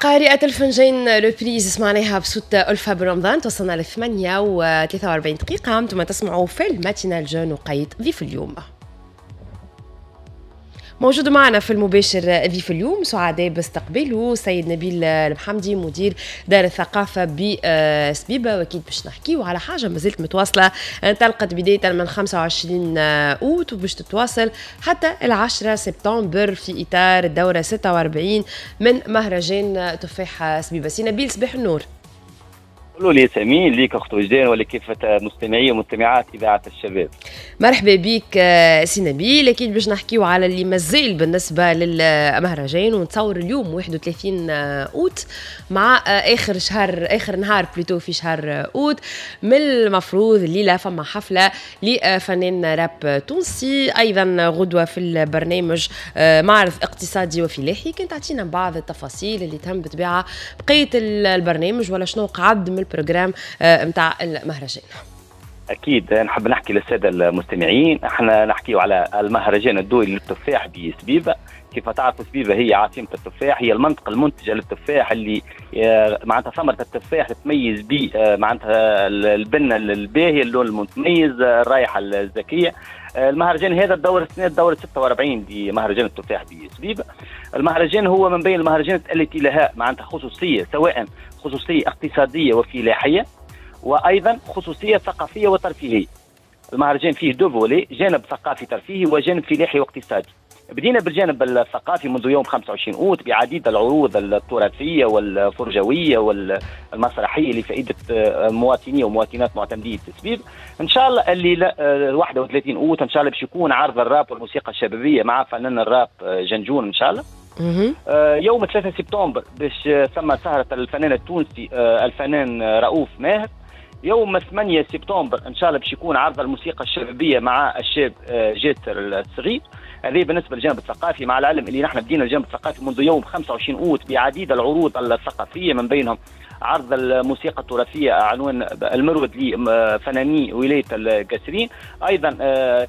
قارئة الفنجان reprise سمعناها بصوت ألفة بن رمضان. توصلنا ل 8:43 دقيقة، انتم تسمعوا في ال matinale jeune وقيت ضيف اليوم. موجود معنا في المباشر ضيف اليوم، سعداء باستقباله سيد نبيل المحمدي، مدير دار الثقافة بسبيبة. واكيد باش نحكيو على حاجة مازالت متواصلة، انطلقت بداية من 25 أوت وباش تتواصل حتى 10 سبتمبر في إطار الدورة 46 من مهرجان تفاح سبيبة. سي نبيل، صباح النور. قولوا لي سمين ليك اخت وجدان ولكافة مستمعي ومستمعات اذاعة الشباب. مرحبا بك سي نبيل. اكيد باش نحكيو على اللي مازال بالنسبة للمهرجان، ونتصور اليوم 31 اوت مع اخر شهر، اخر نهار plutôt في شهر اوت، من المفروض الليلة فما حفلة لفنان راب تونسي، ايضا غدوه في البرنامج معرض اقتصادي وفلاحي. كنت تعطينا بعض التفاصيل اللي تهم بطبيعة بقية البرنامج ولا شنو قعد من ال programme نتاع المهرجان؟ اكيد نحب نحكي للسادة المستمعين، احنا نحكيو على المهرجان الدولي للتفاح بسبيبه. كيف تعرفوا سبيبه هي عاصمة التفاح، هي المنطقة المنتجة للتفاح اللي معناتها ثمره التفاح تتميز ب معناتها البنه الباهيه، اللون المتميز، الرائحة الزكيه. المهرجان هذا الدور السنة الدورة 46 لمهرجان التفاح بسبيبه. المهرجان هو من بين المهرجانات التي لها معناتها خصوصيه، سواء خصوصية اقتصادية وفلاحيه وايضا خصوصية ثقافية وترفيهيه. المهرجان فيه deux volets، جانب ثقافي ترفيهي وجانب فلاحي واقتصادي. بدينا بالجانب الثقافي منذ يوم 25 اوت بعديد العروض التراثية والفرجويه والمسرحيه لفائدة مواطني ومواطنات معتمديه التسبيب. ان شاء الله الليلة 31 اوت ان شاء الله باش يكون عرض الراب والموسيقى الشبابية مع فنان الراب جنجون ان شاء الله. يوم 3 سبتمبر باش ثم سهره الفنان التونسي الفنان رؤوف ماهر. يوم 8 سبتمبر ان شاء الله باش يكون عرض الموسيقى الشبابية مع الشاب جاسر الصغير. هذه بالنسبة للجانب الثقافي، مع العلم اللي نحن بدينا الجانب الثقافي منذ يوم 25 اوت بعديد العروض الثقافية، من بينهم عرض الموسيقى التراثية عنوان المرود لفناني ولاية القاسرين. ايضا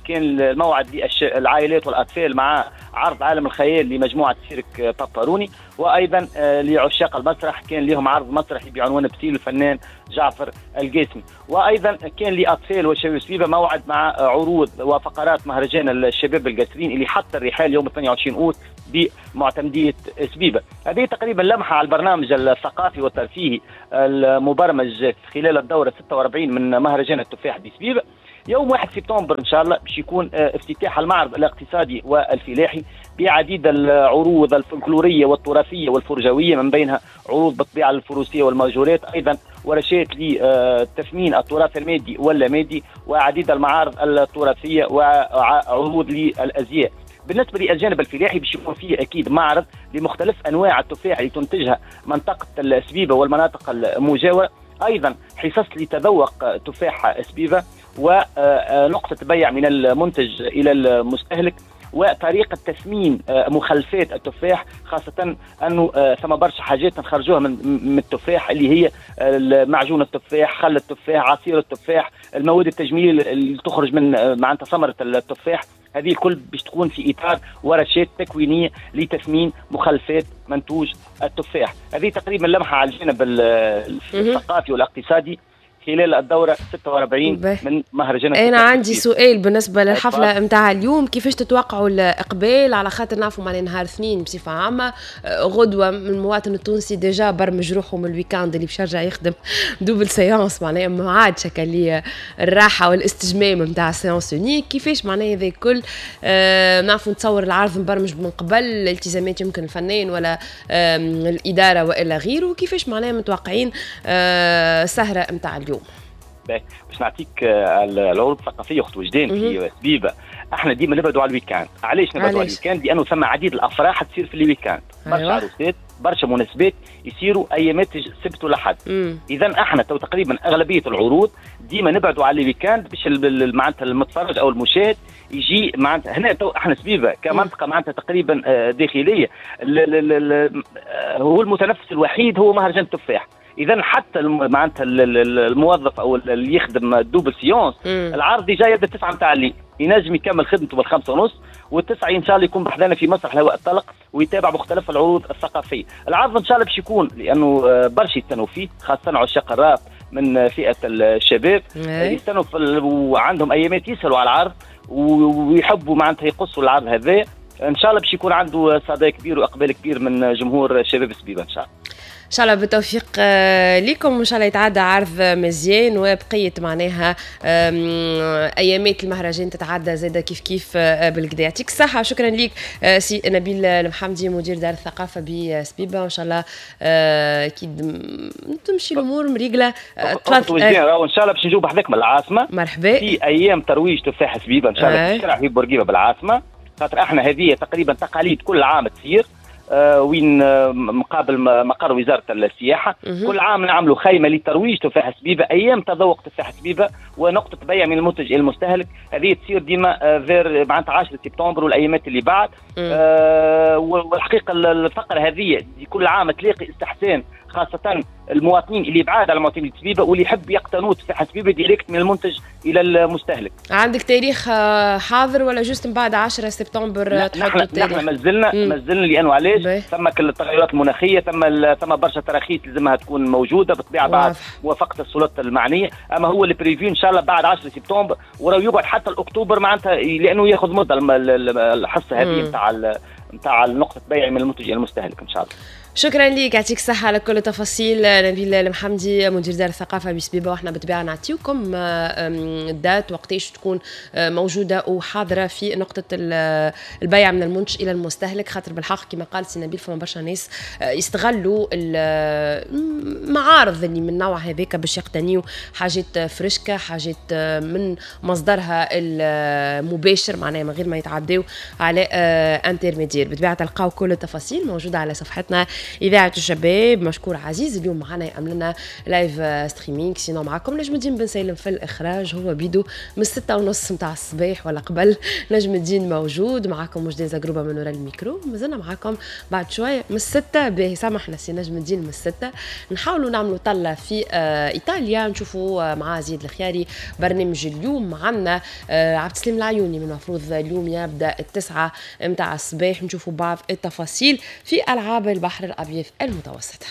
كان الموعد للعائلات والاطفال مع عرض عالم الخيال لمجموعة سيرك باباروني، وايضا لعشاق المسرح كان لهم عرض مسرحي بعنوان بسيل الفنان جعفر القاسمي. وايضا كان لاطفال وشباب سبيبه موعد مع عروض وفقرات مهرجان الشباب القاسرين اللي حط الرحال يوم 28 اوت بمعتمديه سبيبه. هذه تقريبا لمحه على البرنامج الثقافي والترفيهي المبرمج خلال الدورة 46 من مهرجان التفاح بسبيبه. يوم 1 سبتمبر ان شاء الله باش يكون افتتاح المعرض الاقتصادي والفلاحي بعديد العروض الفلكلوريه والتراثيه والفرجويه، من بينها عروض بالطبيعة الفروسية والماجورات، ايضا ورشات لتثمين التراث المادي واللامادي، وعديد المعارض التراثية وعروض للازياء. بالنسبة للجانب الفلاحي باش يكون فيه اكيد معرض لمختلف انواع التفاح اللي تنتجها منطقة السبيبه والمناطق المجاورة، ايضا حصص لتذوق تفاح سبيبه ونقطة بيع من المنتج الى المستهلك، وطريقه تثمين مخلفات التفاح، خاصة انه ثم برشا حاجات نخرجوها من التفاح اللي هي معجون التفاح، خل التفاح، عصير التفاح، المواد التجميل اللي تخرج من معناتها ثمره التفاح. هذه الكل باش تكون في اطار ورشات تكوينيه لتثمين مخلفات منتوج التفاح. هذه تقريبا لمحه على الجانب الثقافي والاقتصادي خلال الدورة 46 من مهرجان. أنا عندي سؤال بالنسبة للحفلة نتاع اليوم، كيفاش تتوقعوا الإقبال؟ على خاطر نعرفوا معناها نهار اثنين بصفة عامة، غدوة المواطن التونسي déjà برمج روحه من ال week-end اللي باش يرجع يخدم double séance، معناها ما عادش هكا الراحة والاستجمام نتاع séance unique. كيفاش معناها هذا الكل؟ نعرفوا نتصور العرض مبرمج من قبل، الالتزامات يمكن الفنان ولا الإدارة وإلا غيره، كيفاش معناها متوقعين سهرة نتاع اليوم؟ باش نعطيك العروض الثقافية اخت وجدان في سبيبه، احنا ديما نبعدوا على ال week-end. علاش نبعدوا على ال week-end؟ لانه ثم عديد الافراح تصير في ال week-end، برشا عروسات، برشا مناسبات يصيروا ايامات السبت والاحد. اذا احنا تو تقريبا اغلبية العروض ديما نبعدوا على ال week-end باش معناتها المتفرج او المشاهد يجي معناتها هنا. تو احنا سبيبه كمنطقه معناتها تقريبا داخلية، هو المتنفس الوحيد هو مهرجان التفاح. اذا حتى معناتها الموظف او اللي يخدم double séance، العرض déjà يبدا 9 نتاع الليل. ينجم يكمل خدمته بال5:30، وال9 ان شاء الله يكون بحذانا في مسرح الهواء الطلق ويتابع مختلف العروض الثقافيه. العرض ان شاء الله باش يكون، لانه برشا يستنوا فيه، خاصة عشاق الراب من فئة الشباب يستنوا وعندهم ايامات يسالوا على العرض ويحبوا معناتها يقصوا العرض هذا. ان شاء الله باش يكون عنده صدى كبير واقبال كبير من جمهور شباب سبيبه ان شاء الله. ان شاء الله بالتوفيق لكم، وان شاء الله يتعدى عرض مزيان وبقية معناها ايامات المهرجان تتعدى زاده كيف كيف بالقدا. يعطيك الصحه، شكرا لك سي نبيل المحمدي، مدير دار الثقافة بسبيبه، وان شاء الله اكيد تمشي الامور مريقله. تفضل. ان شاء الله باش نجيو بحذاك من العاصمه. مرحبا. في ايام ترويج تفاح سبيبه ان شاء الله في شارع حبيب بورقيبة بالعاصمه، خاطر احنا هذه تقريبا تقاليد كل عام تصير، وين مقابل مقر وزارة السياحه. كل عام نعملوا خيمة لترويج تفاح سبيبه، ايام تذوق تفاح سبيبه ونقطة بيع من المنتج الى المستهلك. هذه تصير ديما vers معناتها 10 سبتمبر والايامات اللي بعد. والحقيقة الفقرة هذه كل عام تلاقي استحسان، خاصة المواطنين اللي بعاد على معتمدية سبيبه واللي يحب يقتنوا تفاح سبيبه direct من المنتج الى المستهلك. عندك تاريخ حاضر ولا juste من بعد 10 سبتمبر؟ تحطوا التاريخ؟ نحن مازلنا، لانه علاش؟ ثم كل التغيرات المناخيه، ثم برشا تراخيص لازمها تكون موجودة بالطبيعة بعد موافقة السلطات المعنيه، اما هو اللي prévu ان شاء الله بعد 10 سبتمبر، وراه يقعد حتى الاكتوبر معناتها، لانه ياخذ مده الحصة هذه نتاع نقطة بيع من المنتج الى المستهلك ان شاء الله. شكرا لك، يعطيك الصحة على كل التفاصيل نبيل المحمدي، مدير دار الثقافة بسبيبة. واحنا بالطبيعة نعطيوكم ال date وقتاش تكون موجودة وحاضرة في نقطة البيع من المنتج إلى المستهلك، خاطر بالحق كما قال سي نبيل فما برشا ناس يستغلوا المعارض اللي من النوع هذاك باش يقتنيوا حاجات فريشكا، حاجات من مصدرها المباشر، معناها من غير ما يتعداو على intermédiaire. بالطبيعة تلقاو كل التفاصيل موجودة على صفحتنا إذاعة الشباب. مشكور عزيز اليوم معنا يعمل لنا live streaming. sinon معكم نجم الدين بن سالم في الإخراج، هو بيدو من 6:30 متاع الصباح ولا قبل نجم الدين موجود معكم. وجدان زقروبة من وراء الميكرو، مازلنا معكم بعد شوية من 6. باهي سامحنا سي نجم الدين، من 6 نحاولوا نعملوا طلة في إيطاليا، نشوفوا مع زيد الخياري برنامج اليوم. عندنا عبد السلام العيوني من المفروض اليوم يبدأ 9 متاع الصباح، نشوفوا بعض التفاصيل في ألعاب البحر الأبيض المتوسط.